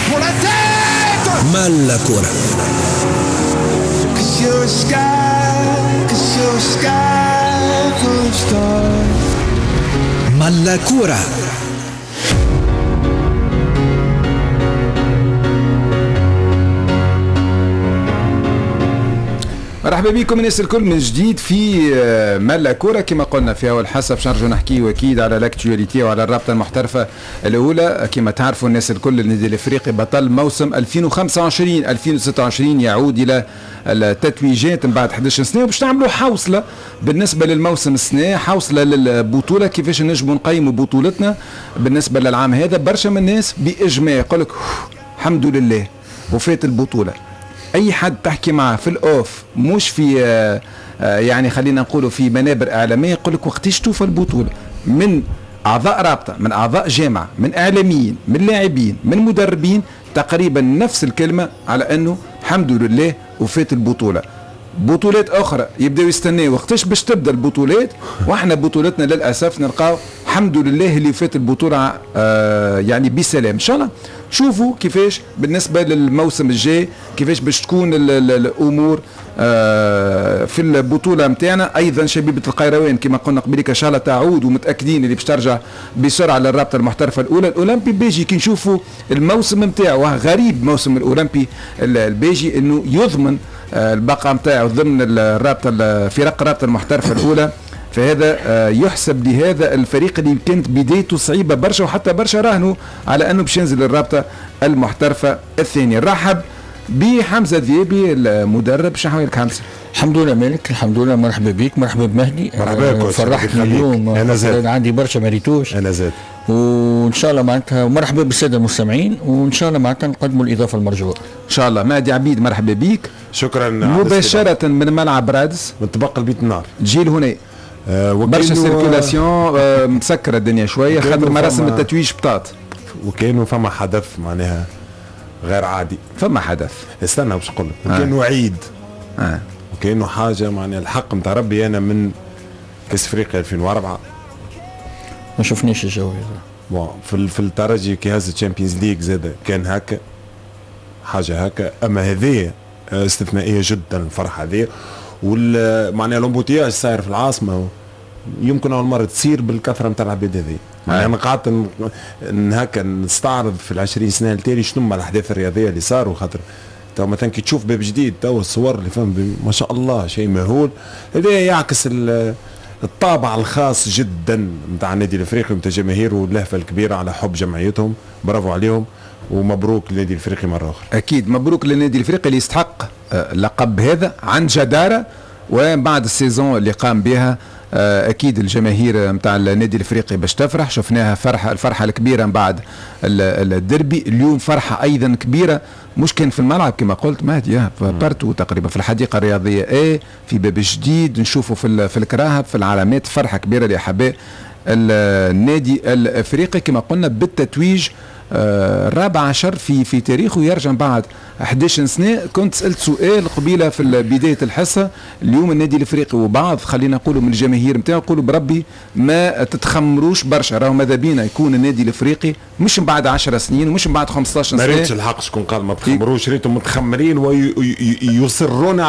Pour la tête. ملا كورة. Cause you're a sky, cause you're a sky full of stars. ملا كورة. مرحبا بكم الناس الكل من جديد في ملا كورة. كما قلنا في أول حصة باش نرجعوا نحكيو أكيد على l'actualité وعلى الرابطة المحترفة الأولى. كما تعرفوا الناس الكل، النادي الإفريقي بطل موسم 2025 2026 يعود إلى التتويجات من بعد 11 سنة، وباش نعملوا حوصلة بالنسبة للموسم السنة، حوصلة للبطولة، كيفاش نجموا نقيموا بطولتنا بالنسبة للعام هذا. برشا من الناس بإجماع يقول لك الحمد لله وفات البطولة. اي حد تحكي معه في ال off، مش في يعني خلينا نقولوا في منابر اعلاميه، يقول لك وقتاش توفى البطوله؟ من اعضاء رابطه، من اعضاء جامعه، من اعلاميين، من لاعبين، من مدربين، تقريبا نفس الكلمة على انه الحمد لله وفات البطوله. بطولات اخرى يبداو يستناو وقتاش باش تبدا البطولات، واحنا بطولتنا للاسف نلقاو الحمد لله اللي فات البطولة يعني بسلام. ان شاء الله شوفوا كيفاش بالنسبة للموسم الجاي، كيفاش باش تكون الامور في البطولة نتاعنا. ايضا شبيبة القيروان كما قلنا قبليك ان شاء الله تعود، ومتاكدين اللي باش ترجع بسرعة للرابطة المحترفه الاولى. الاولمبي الباجي كي نشوفوا الموسم نتاعو غريب، موسم الاولمبي الباجي انه يضمن البقاء نتاعو ضمن الرابطة، فرق الرابطة المحترفه الاولى، فهذا يحسب لهذا الفريق اللي كانت بدايته صعيبة برشا، وحتى برشا راهنوا على انه باش ينزل الرابطة المحترفه الثانية. رحب بحمزة ذيابي المدرب، شنو حوالك حمزة؟ الحمد لله مالك، الحمد لله. مرحبا بك، مرحبا بمهدي. مرحبا بك، فرحتني اليوم. انا زاد عندي برشا ما ريتوش. انا زاد، وان شاء الله معناتها مرحبا بالساده المستمعين، وان شاء الله معناتها نقدموا الاضافة المرجوة ان شاء الله. مهدي عبيد مرحبا بك. شكرا. مباشرة من ملعب رادس، من طبق البيت النار جيل هنا برشا circulation، مسكره الدنيا شوية خاطر مراسم التتويج بطات، وكانوا فما حدث معناها غير عادي. فما حدث، استنى باش نقول لك، وكانوا عيد وكانوا حاجة معناها الحق نتاع ربي. انا من كاس افريقيا 2004 ما شفناش الجو هذا. bon في الترجي كي هز ال Champions League زاد كان هكا حاجة هكا، اما هذه استثنائية جدا الفرحة هذه، وال معناها l'embouteillage صاير في العاصمة يمكن اول مرة تصير بالكثرة نتاع العباد هذه. معناها انا قعدت هكا نستعرض في ال20 سنة التالي شنو هما الاحداث الرياضية اللي صاروا، خاطر تو مثلا كي تشوف باب جديد تو الصور اللي فهم ما شاء الله شيء مهول. هذا يعكس الطابع الخاص جدا نتاع النادي الافريقي ونتاع جماهيره واللهفه الكبيرة على حب جمعيتهم. برافو عليهم ومبروك للنادي الافريقي مرة اخرى. اكيد مبروك للنادي الافريقي اللي يستحق اللقب هذا عن جداره، وبعد ال saison اللي قام بها اكيد الجماهير نتاع النادي الافريقي باش تفرح. شفناها فرحه، الفرحة الكبيرة من بعد الدربي. اليوم فرحه ايضا كبيرة، مش كان في الملعب كما قلت مهدي، partout تقريبا في الحديقة الرياضية اي في باب جديد، نشوفوا في الكراهب في العلامات، فرحه كبيرة لاحباء النادي الافريقي كما قلنا بالتتويج الرابع عشر في تاريخه، يرجع بعد 11 سنة. كنت سألت سؤال قبيلة في بداية الحصة، اليوم النادي الافريقي وبعض خلينا نقولوا من الجماهير نتاعو يقولوا بربي ما تتخمروش برشا، راهو ماذا بينا يكون النادي الافريقي مش من بعد 10 سنين ومش من بعد 15 سنة. ما ريتش الحق شكون قال ما تخمروش، ريتهم متخمرين ويصرون